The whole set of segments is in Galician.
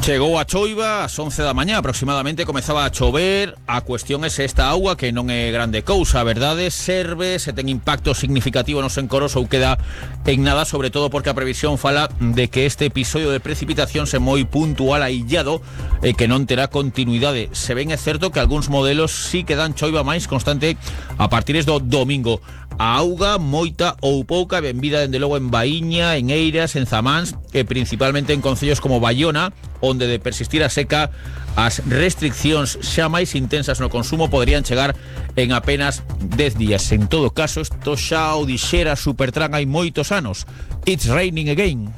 Chegou a choiva ás 11 da mañá aproximadamente, comezaba a chover. A cuestión é se esta auga, que non é grande cousa, a verdade, serve, se ten impacto significativo nos encoros ou queda en nada, sobre todo porque a previsión fala de que este episodio de precipitación se moi puntual, aillado, e que non terá continuidade. Se ben é certo que algúns modelos sí que dan choiva máis constante a partir do domingo. A auga, moita ou pouca, benvida dende logo en Baíña, en Eiras, en Zamáns e principalmente en concellos como Baiona, onde de persistir a seca as restriccións xa máis intensas no consumo poderían chegar en apenas 10 días. En todo caso, isto xa o dixera Supertran hai moitos anos. It's raining again.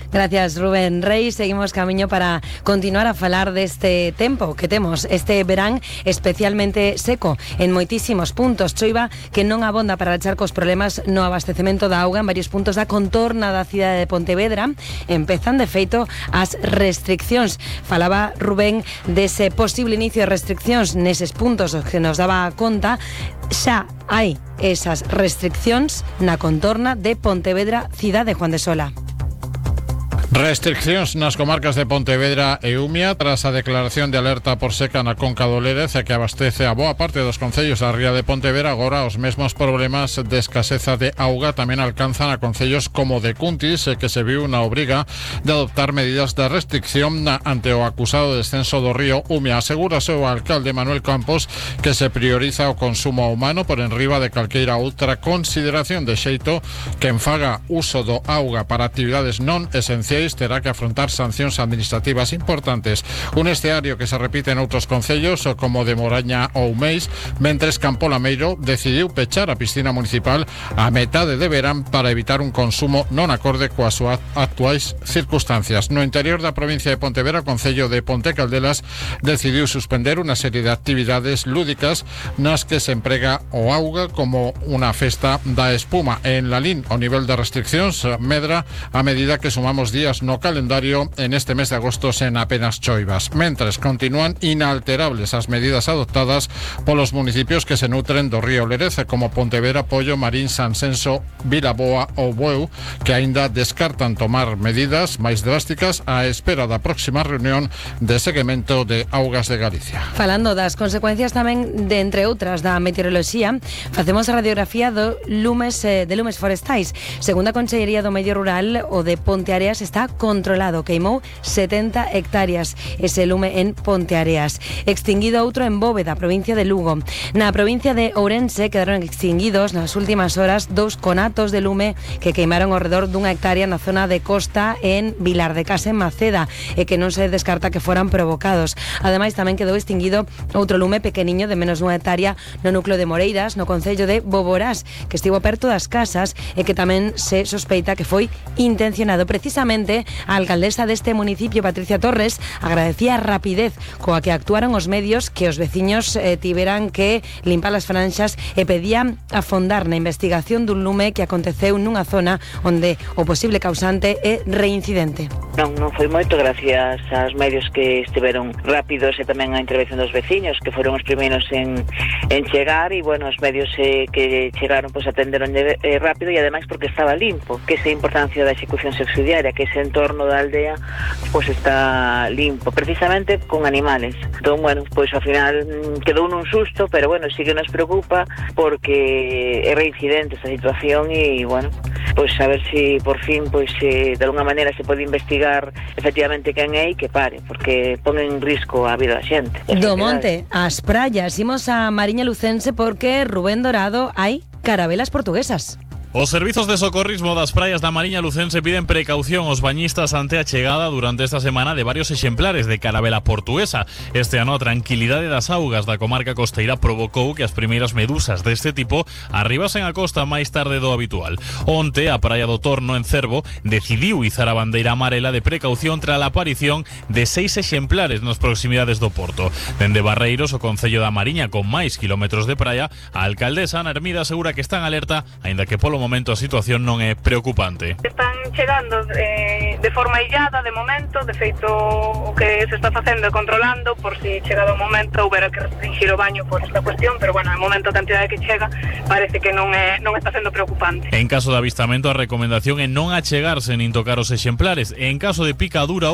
Gracias, Rubén Reis. Seguimos camiño para continuar a falar deste tempo que temos este verán especialmente seco en moitísimos puntos. Choiva que non abonda para rachar cos problemas no abastecemento da auga en varios puntos da contorna da cidade de Pontevedra. Empezan, de feito, as restriccións. Falaba Rubén dese posible inicio de restriccións neses puntos que nos daba conta. Xa hai esas restriccións na contorna de Pontevedra, cidade de Juan de Sola. Restriccións nas comarcas de Pontevedra e Umia tras a declaración de alerta por seca na conca do Lérez, que abastece a boa parte dos concellos da ría de Pontevedra. Agora os mesmos problemas de escaseza de auga tamén alcanzan a concellos como de Cuntis, que se viu na obriga de adoptar medidas de restricción ante o acusado descenso do río Umia. Asegúrase o alcalde Manuel Campos que se prioriza o consumo humano por enriba de calqueira outra consideración, de xeito que en faga uso do auga para actividades non esenciais terá que afrontar sancións administrativas importantes. Un escenario que se repite en outros concellos como de Moraña ou Meis, mentres Campo Lameiro decidiu pechar a piscina municipal a metade de verán para evitar un consumo non acorde coas súas actuais circunstancias. No interior da provincia de Pontevedra, o concello de Ponte Caldelas decidiu suspender unha serie de actividades lúdicas nas que se emprega o auga como unha festa da espuma. En Lalín, o nivel de restriccións medra a medida que sumamos días no calendario en este mes de agosto sen apenas choivas, mentres continúan inalterables as medidas adoptadas polos municipios que se nutren do río Lérez, como Pontevedra, Pollo, Marín, Sansenso, Vilaboa ou Bueu, que aínda descartan tomar medidas máis drásticas á espera da próxima reunión de seguimento de Augas de Galicia. Falando das consecuencias tamén de, entre outras, da meteoroloxía, facemos a radiografía de lumes forestais. Segundo a Consellería do Medio Rural, o de Ponteareas está controlado. Queimou 70 hectáreas ese lume en Ponteareas. Extinguido outro en Bóveda, provincia de Lugo. Na provincia de Ourense quedaron extinguidos nas últimas horas 2 conatos de lume que queimaron ao redor dunha hectárea na zona de costa en Vilar de Casa, en Maceda, e que non se descarta que foran provocados. Ademais, tamén quedou extinguido outro lume pequeniño de menos dunha hectárea no núcleo de Moreiras, no concello de Boborás, que estivo perto das casas e que tamén se sospeita que foi intencionado. Precisamente, a alcaldesa deste municipio, Patricia Torres, agradecía a rapidez coa que actuaron os medios, que os veciños tiveran que limpar as franxas, e pedían afondar na investigación dun lume que aconteceu nunha zona onde o posible causante é reincidente. Non foi moito, gracias aos medios que estiveron rápidos e tamén a intervención dos veciños, que foron os primeiros en chegar, e bueno, os medios que chegaron pois atenderon rápido, e ademais porque estaba limpo, que esa importancia da execución subsidiaria, que ese entorno da aldea pois está limpo, precisamente con animales. Entón, bueno, pois ao final quedou nun susto, pero bueno, sí que nos preocupa porque é reincidente esta situación, e bueno, pois a ver se por fin pois de alguna maneira se pode investigar efectivamente quen é e que pare, porque pon en risco a vida da xente. Do monte ás praias, imos a Mariña Lucense porque, Rubén Dorado, hai carabelas portuguesas. Os servizos de socorrismo das praias da Mariña Lucense piden precaución aos bañistas ante a chegada durante esta semana de varios exemplares de carabela portuguesa. Este ano a tranquilidade das augas da comarca costeira provocou que as primeiras medusas deste tipo arribasen a costa máis tarde do habitual. Onte, a praia do Torno, en Cervo, decidiu izar a bandeira amarela de precaución tras a aparición de 6 exemplares nas proximidades do porto. Dende Barreiros, o concello da Mariña, con máis kilómetros de praia, a alcaldesa Ana Hermida asegura que están alerta, aínda que polo momento a situación non é preocupante. Están chegando de forma illada de momento, de feito o que se está facendo é controlando por si chegado o momento houbera que restringir o baño por esta cuestión, pero bueno, no momento a cantidade que chega parece que non está sendo preocupante. En caso de avistamento, a recomendación é non achegarse nin tocar os exemplares. En caso de picadura